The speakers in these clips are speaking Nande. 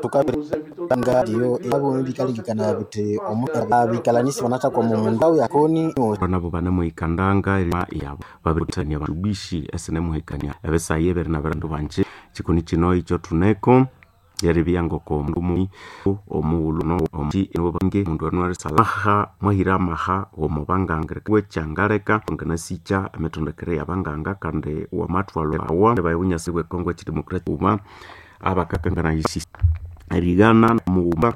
Tukabiranga abo bikalengekana bithi abikalanisi banathakwama omundu yakoni nabo banemuhikandanga yabo babirithania bandubishi esinemuhikania ebisayi ebiri nabandu banji chikoni kino ikyo thuneko yeribya ngoko omundu omughulhu nobange omundu anuarisalaha mwahira amaha womubanganga wekyangaleka nganasikya emitondekere yabanganga kandi wamathwalwa awa baye bunyasi bwe Kongo ekidemokrasia uma abakakanganayisi erigana mughuma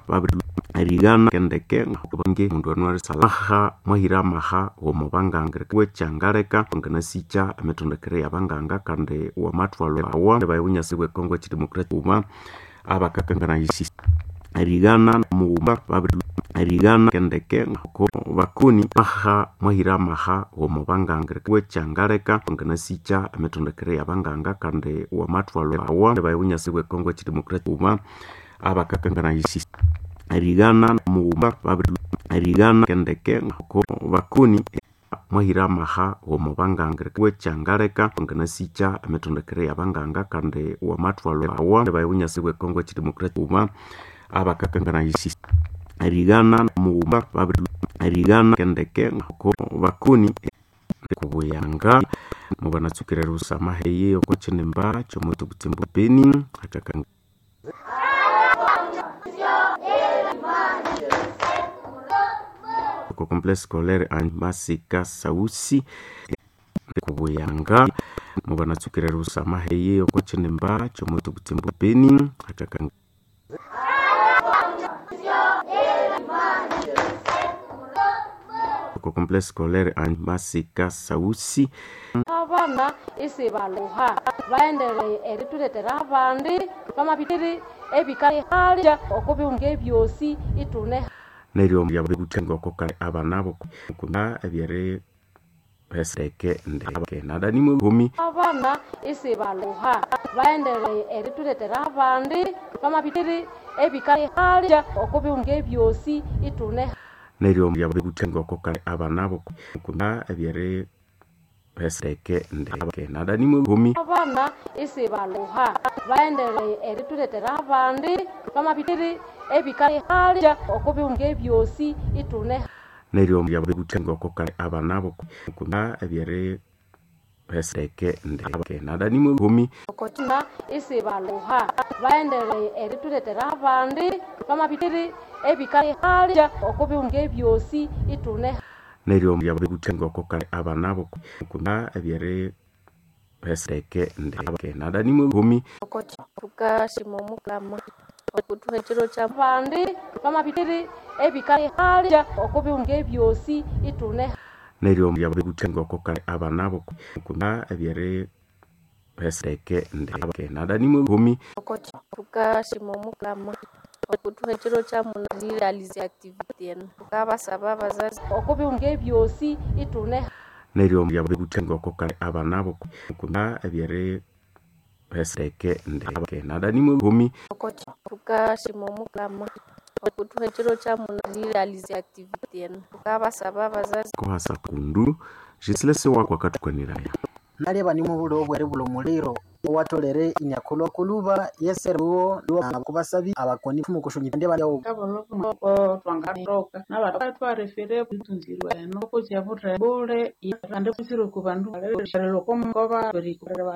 erigana kendeke bange omundu anuarisalaha mwahira amaha womubanganga wekyangaleka nganasikya emitondekere yabanganga kandi wamathwalwa awa baye bunyasi bwe Kongo ekidemokrasia uma abakakanganayisi erigana mughuma erigana kendeke ko bakoni aha mwahira amaha womubanganga wekyangaleka nganasikya emitondekere yabanganga kandi wamathwalwa awa baye bunyasi bwe Kongo ekidemokrasia uma abakakanganayisi erigana mughuma erigana kendeke ko bakoni mwahira amaha womubanganga wekyangaleka nganasikya emitondekere yabanganga kandi wamathwalwa awa baye bunyasi bwe Kongo ekidemokrasia uma abakakanganayisi erigana mughuma erigana kendeke ko bakoni kubuyanga mubanatsukira rusama heye oko chinimba chomoto butsimbu beni akakanga ko complexe scolaire en Masika Sausi kubuyanga mubanatsukira rusama heye oko chinimba chomoto butsimbu beni akakanga ko complexe scolaire en Masika Sausi abana isibaluha baendeleye erithuletera abandi bamabiri ebikahalya okubihunga ebyosi ithune neryo yabikuthengoko abana bo kuna ebyere heseke ndeke nadanimwe homi abana isibaluha baendeleye erithuletera abandi bamabiri ebikahalya okubihunga ebyosi ithune neryo yabikuthengoko abana bo kuna ebyere heseke ndeke nadanimwe homi abana isibaluha baendeleye erithuletera abandi bamabiri ebikahalya okubihunga ebyosi ithune neryo yabikuthengoko abana bo kuna ebyere heseke ndeke nadanimwe homi na isibaluha baendeleye erithuletera abandi bamabiri ebikahalya okubihunga ebyosi ithune neryo yabikuthengoko abana bo kuna ebyere heseke ndeke nadanimwe homi tukashima omukama okuthuha ekiro kya abandi bamabiri ebikahalya okubihunga ebyosi ithune neryo yabikuthengoko abana bo kuna ebyere heseke ndeke nadanimwe homi tukashima omukama okuthuha ekiro kya munaliralize activity eno tukabasaba abazazi okubihunga ebyosi ithune neryo yabikuthengoko abana bo kuna ebyere heseke ndeke nadanimwe homi tukashima omukama okuthuha ekiro kya munaliralize activity eno tukabasaba abazazi kohasa kundu jisilese wako akathukaniraya naleba nimu bulo obwere bulo muliro owatolere inyakulwa yeseruwo kubasabi abakoni mukushunyi ndi bali twangaroka nabatwarefere itunzirwa eno kusyabutha bule ande kusiro kubandu lokomukoba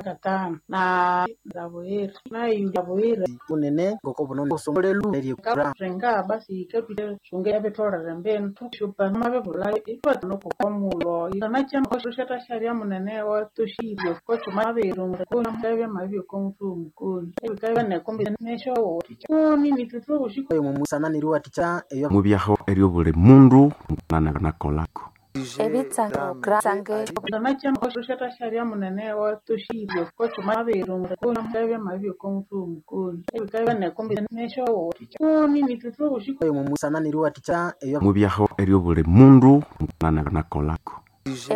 katano na rabuhira nayiabuhira unene ngoko buno usomolelu renga basi ikatwite sunge ebitolere mbenu tushupa mabebula itwatinokokomulo nakyamoshatashabya munene watushirwe kochumabirumbe mubyaho eryo buli mundu nakolako ebitsange nakyamoshatashabya munene watushirwe mubyaho eryo buli mundu nakolako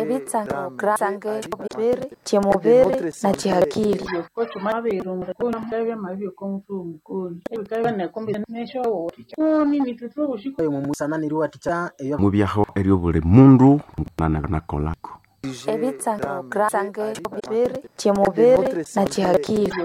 ebitsange kyemubiri na kyihakili mubyaho eryo buli mundu nakolako ebitsange kyemubiri na kyihakili.